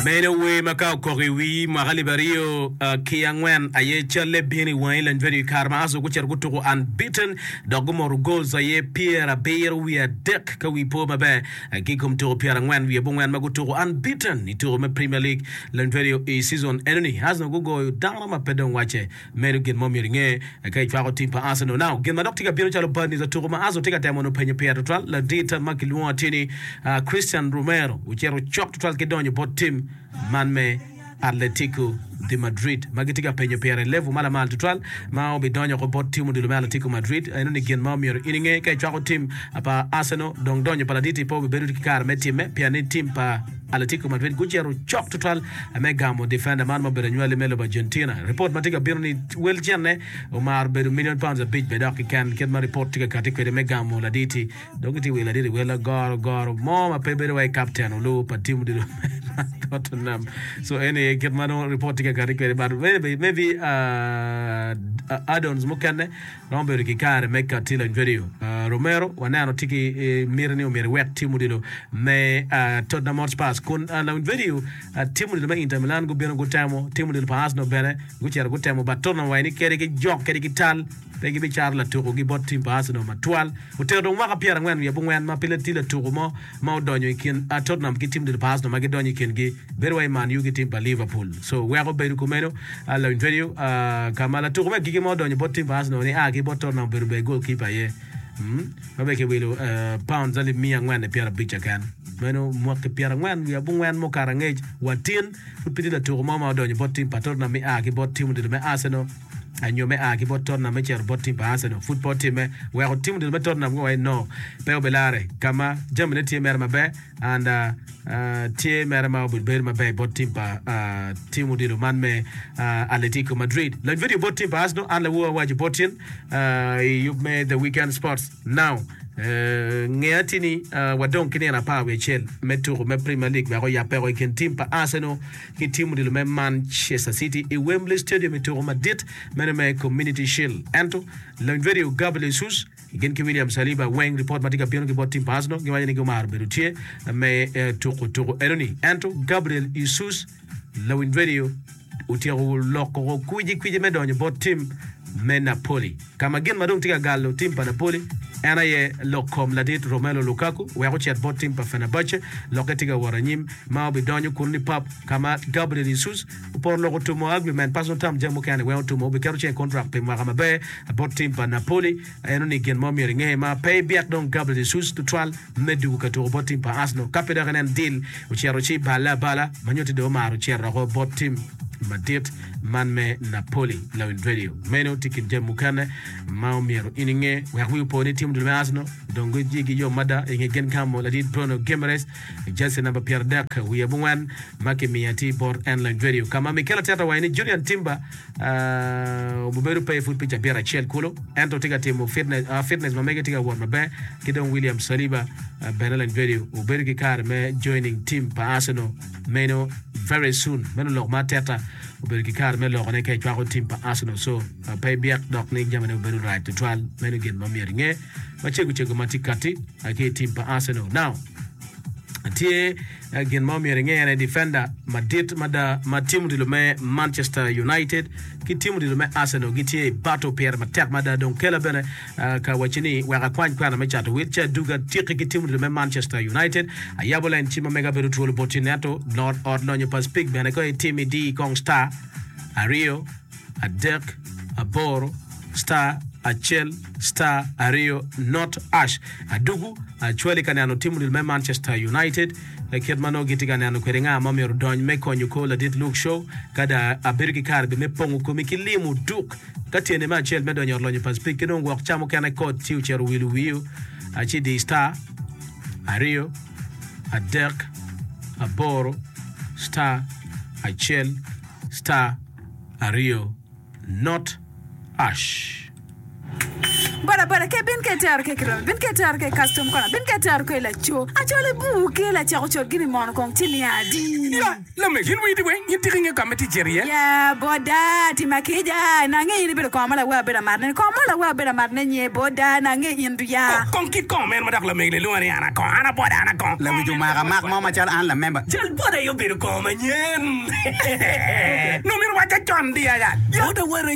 Meno wer ma ka okok i wii mwaka alip aryo ki angwen aye calle bino i wangi Lanyvedio i kare ma Arsenal gucito gutuko unbeaten dok gumoto goals aye pyerabiro wiye adek ka wii po maber ki i kom tuko pyerangwen wiye abongwen ma gutuko unbeaten i tuko me Premier League Lanyvedio i season enoni Arsenal gugoyo dano ma pe dong wacce Meno gin ma omyero inge ka icwako tim pa Arsenal. Now, gin ma dok tye ka bino calo bad news atuko ma Arsenal tye ka temo nongo penyo pire tutwal, ladit ma kilwongo atir ni Christian Romero ocito cok tutwal ki donyo bot tim man me Atletico de Madrid ma gitye ka penyo pire i level ma lamal tutwal ma obidonyo oko bot tim odilo me Atletico Madrid. Eno ni gin ma omyero in inge ka icwako tim pa Arsenal. Dong donyo pa ladit-ti pe obibedo ki kare me timme pien ni tim pa Atletico Madrid gucito cok tutwal me gamo difenda man ma obedo anywali me lobo Argentina. Ripot ma tye ka bino ni wel cente omaro bedo milion pounds abic bene dok keken kit ma ripot tye ka kati kwede me gamo laditi. Dong gitye wilo laditi wel agoro goro mo ma pe bedo wai kapten olu pa tim odilo me Tottenham. So eni aye kit ma nongo ripot tye ka kati kwede but maybe, maybe uh, add-ons mukene Romo bedo ki kare me katti lony vedio. Romero waneno tye ki miti ni omyero ewek tim odilo me Tottenham Hotspurs kun lawiny vedio tim odilo me Inter Milan gubino gutemo, tim odilo pa Arsenal bene gucito gutemo but Tottenham owaco ni kadi ki jok kadi ki tal pe gibicato latukogi bot tim pa Arsenal matwal. Otero dong mwaka pyerangwen wiye abongwen ma pe tye latuko mo ma odonyo i kin Tottenham ki tim odilo pa Arsenal ma gidonyo i kingi bedo wai Man U ki tim pa Liverpool. So weko bedo kumeno lawiny vedio ka ma latuko me agikki ma odonyo bot tim pa Arsenal ni a ki bot Tottenham obedo ber goalkeeper aye ma bene kiwilo pounds alip miya angwen ki pyerabic keken. Meno mwaki pyerangwen wiye abongwen mukato angec wa tin pud pe tye latuko mo ma odonyo bot tim pa Tottenham ni a ki bot tim odilo me Arsenal nyo me a ki bot Tottenham me cito bot tim pa Arsenal pud pe otimme weko tim odilo me Tottenham guwaco ni no pe obilare ka ma jamine tye mere maber and tye mere ma obedo bedo maber bot tim pa tim odilo man me Atletico Madrid. Lony video bot tim pa Arsenal an lawor awaco bot tin i yub me The Weekend Sports Now. Nge atir ni wadong ki nino apar wiye acel me tuko me Premier League wek oyab peko i kin tim pa Arsenal ki tim odilo me Manchester City i Wembley Stadium i tuko madit meno me Community Shield. Ento lony video Gabriel Jesus gin ki William Saliba weng ripot ma tye ka bino ki bot tim pa Arsenal giwaco ni gumaro bedo tye me tuko tuko enoni. Ento Gabriel Jesus lawiny radio otyeko loko kwicikwici me donyo bot tim me Napoli ka ma gin ma dong tye ka galo tim pa Napoli en aye lok kom ladit Romelu Lukaku wek ocit bot tim pa Fenerbahce. Lokke tye ka wot anyim ma obidonyo kunu ni pap ka ma Gabriel Jesus oporo lok otumo agreement personal term jami mukene weng otumo obiketo ceng i kontrak pi mwaka maber bot tim pa Napoli. Eno ni gin mo myero inge ma pe ibyek dong Gabriel Jesus tutwal me dugo ka tuko bot tim pa Arsenal ka pe dok inen deal ocito ci balle abala ma nyutti dong omaro cito oko bot tim madit man me Napoli. Lawiny radio meno tye kin jami mukene ma omyero in inge wek wi opo ni tim dul me Arsenal dong gijigi yom mada inge gin gamo ladit Bruno Guimaraes jersey namba 30 wiye abongwen ma kimiyo atir bot en lawiny radio ka ma Mikel Arteta owaco ni Julian Timber Obedo pe pud pi cabit acel kulu, ento tye ka timo fitness ma mege tye ka wot maber ki dong William Saliba bene Lanyvedio obedo ki kare me joining team pa Arsenal meno very soon. Meno lok ma Arteta obedo ki kare me lokone ka ecwako team pa Arsenal so pe ibyek dok ni jamine obedo rac tutwal. Meno gin ma myero inge macego cego ma tye kati ki i team pa Arsenal. Now tye Gin ma omyero inge en aye difenda madit mada ma tim odilo me Manchester United ki tim odilo me Arsenal gitye i battle pire matek mada. Dong kela bene ka wacci ni wek akwany kwena me cato wil ci aduga tiki ki tim odilo me Manchester United. Ayabo lain cim ma mega bedo twolo boti ento ot lonyo pa Speke bene ka itim idi kong star aryo adek, aboro, star, acel, star, aryo, not, ash. Adugu acwali ka neno tim odilo me Manchester United kit ma nongo gitye ka neno kwede nga ma myero odony me konyo kor ladit Luke Shaw. Ka da abedo ki kare be me pongo komi ki limo duk ka tyene me acel me donyo i ot lonyo pa Speke ki dong gwok ca mukene kod ci ocito owilo wiyo ci di star aryo adek aboro star acel star aryo not ash. Boda boda ke bin ke tero ke kiromi bin ke tero ke custom corner bin ke tero ke laco acol ibur ke lacako cot gini mono kong ci niang adi. Ya, lamego, in wii weng, in tika ingeyo ka ma itye cito iye? Ya, boda, tima kica, nange in ibedo kongo ma lawe abedo amatne ni, kongo mo lawe abedo amatne nye, boda, nange in du ya. Kong kit kongo meno ma dok lamego ni lwonga ni an akongo, an aboda, an akongo. Lawic omako amak mo macalo an lamemba. Jal boda aye obedo kongo manyen. Nongo myero wacca con di aya. Boda wara.